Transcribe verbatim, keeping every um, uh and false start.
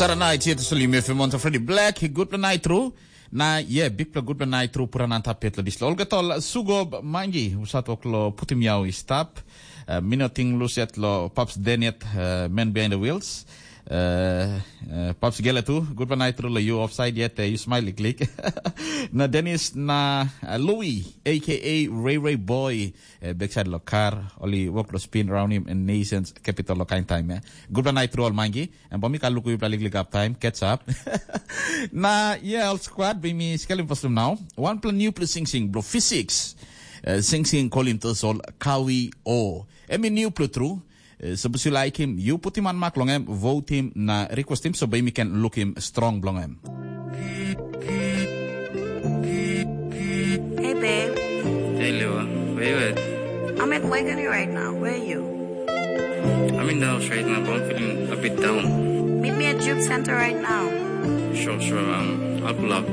Saranait yet sulim F M on Freddy Black, gutpela nait tru. Na ye, bikpela gutpela nait tru puran antap yet lo dislo. Olga tol sugob mangi, usat oklo putim yau i stap. Uh, minoting luset lo Pops Deniet, uh, man behind the wheels. Uh, uh, Pops Gele tu, gutpela nait tru lo you offside yet, uh, you smiley click. Na Dennis na uh, Louis, A K A Ray Ray Boy, uh, backside lo car, oli work lo spin around him in nations capital lo kind time, eh. Gutpela nait tru ol mangi. Em bo mi ka luku yupela liklik up time, catch up. Na, yeah, ol squad, be mi skelim paslum now. One plan new plus sing sing, bro, physics. Uh, sing sing kolim to sol kawi o. Em i new plus true. Uh, so bus you like him, you put him on mark long em, vote him, na request him, so be mi can look him strong belong em. Hey, babe. Hey, Lewa, where you at? I'm at Wegani right now. Where are you? I'm in the house right now, but I'm feeling a bit down. Meet me at Juke Center right now. Sure, sure, um, I'll pull up.